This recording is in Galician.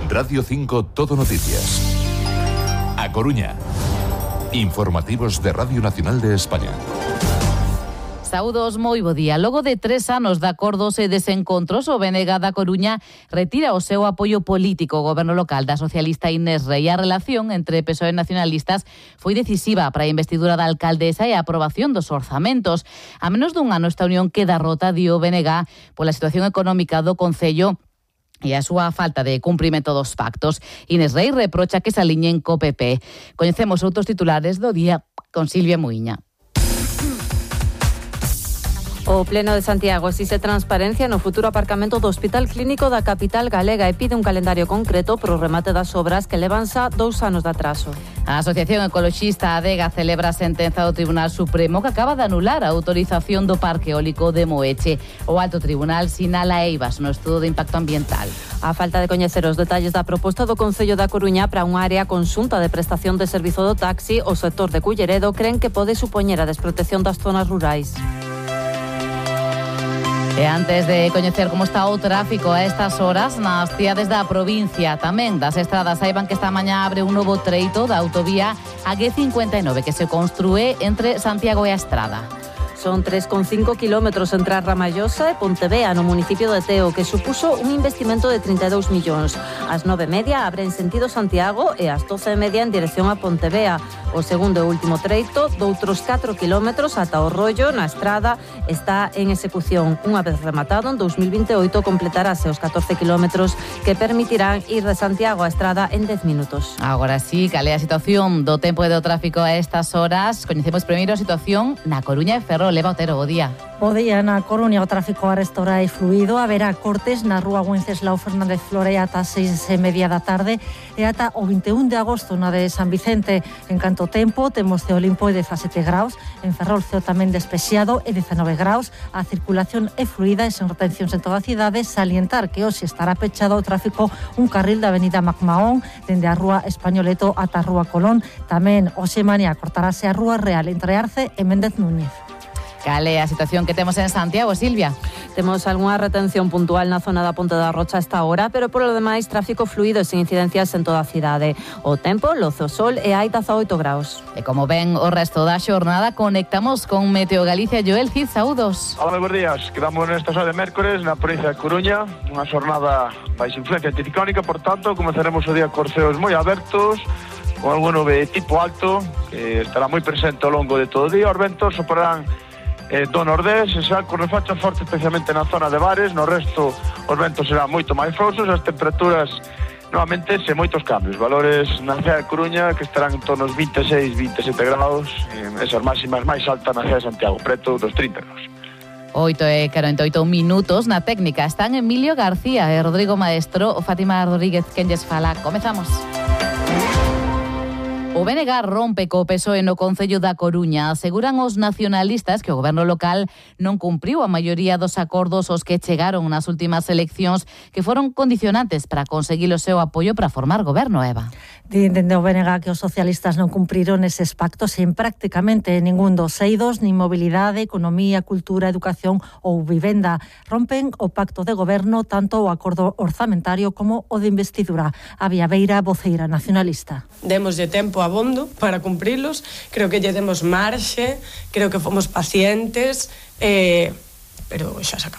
Radio 5 Todo Noticias. A Coruña. Informativos de Radio Nacional de España. Saúdos, moi bo día. Logo de 3 anos de acordos e desencontros, o BNG da Coruña retira o seu apoio político ao goberno local da socialista Inés Rei. A relación entre PSOE e nacionalistas foi decisiva para a investidura da alcaldesa e a aprobación dos orzamentos. A menos dun ano esta unión queda rota, di o BNG, pola situación económica do concello e a súa falta de cumprimento dos pactos. Inés Rei reprocha que se aliñen co PP. Coñecemos outros titulares do día con Silvia Muiña. O Pleno de Santiago exige transparencia no futuro aparcamento do Hospital Clínico da capital galega e pide un calendario concreto pro remate das obras que levan xa 2 anos de atraso. A Asociación Ecoloxista Adega celebra a sentenza do Tribunal Supremo que acaba de anular a autorización do Parque Eólico de Moeche. O Alto Tribunal sinala eivas no estudo de impacto ambiental. A falta de coñecer os detalles da proposta do Concello da Coruña para unha área conxunta de prestación de servizo do taxi, o sector de Culleredo creen que pode supoñer a desprotección das zonas rurais. E antes de coñecer como está o tráfico a estas horas nas cidades da provincia, tamén das estradas, saiban que esta mañá abre un novo treito da autovía A59 que se construe entre Santiago e a Estrada. Son 3,5 kilómetros entre a Ramallosa e Pontevea, no municipio de Teo, que supuso un investimento de 32 millóns. Ás 9:30 abre en sentido Santiago e ás 12:30 en dirección a Pontevea. O segundo e último treito, doutros 4 kilómetros ata o Rollo, na Estrada, está en execución. Unha vez rematado, en 2028 completarase os 14 kilómetros que permitirán ir de Santiago a Estrada en 10 minutos. Agora sí, cal é a situación do tempo e do tráfico a estas horas? Coñecemos primeiro a situación na Coruña e Ferrol. Leva Otero, bo día. Bo día, na Coruña o tráfico arestora e fluido. Haberá cortes na rúa Wenceslao Fernández Flore ata 6:30 da tarde e ata o 21 de agosto na de San Vicente. En canto tempo, temos ceo limpo e 17 graus. En Ferrol, ceo tamén despexado e 19 graus. A circulación é fluida e sen retencións en toda a cidade. Salientar que hoxe estará pechado o tráfico un carril da avenida Macmaón dende a rúa Españoleto ata a rúa Colón. Tamén hoxe mañá cortarase a rúa Real entre Arce e Méndez Núñez. Cal é a situación que temos en Santiago, Silvia? Temos algunha retención puntual na zona da Ponte da Rocha a esta hora, pero polo demais tráfico fluido e sen incidencias en toda a cidade. O tempo, loce o sol e hai 18 graus. E como ven o resto da xornada, conectamos con Meteo Galicia. Joel Cid, saúdos. Hola, buenos días. Quedamos nesta hora de mércores na provincia de Coruña, unha xornada baixo influencia anticiclónica, por tanto, comezaremos o día con ceos moi abertos, con algún nube tipo alto, que estará moi presente ao longo de todo o día. Os ventos soprarán do nordés, e xa con refachas fortes especialmente na zona de Bares. No resto os ventos serán moito máis frouxos, as temperaturas novamente sen moitos cambios, valores na cidade de Coruña que estarán en torno aos 26-27 graus, esas máximas máis altas na cidade de Santiago, preto dos 30 graus. 8:48 minutos. Na técnica están Emilio García e Rodrigo Maestro. O Fátima Rodríguez quen lles fala. Comezamos. O BNG rompe co PSOE no Concello da Coruña. Aseguran os nacionalistas que o goberno local non cumpriu a maioría dos acordos aos que chegaron nas últimas eleccións, que foron condicionantes para conseguir o seu apoio para formar goberno, Eva. Dende o BNG que os socialistas non cumpriron eses pactos en prácticamente ningún dos eidos, nin mobilidade, economía, cultura, educación ou vivenda. Rompen o pacto de goberno, tanto o acordo orzamentario como o de investidura. A Viaveira, voceira nacionalista. Démoslle tempo abondo para cumprilos, creo que lle demos marxe, creo que fomos pacientes, pero xa se acabou.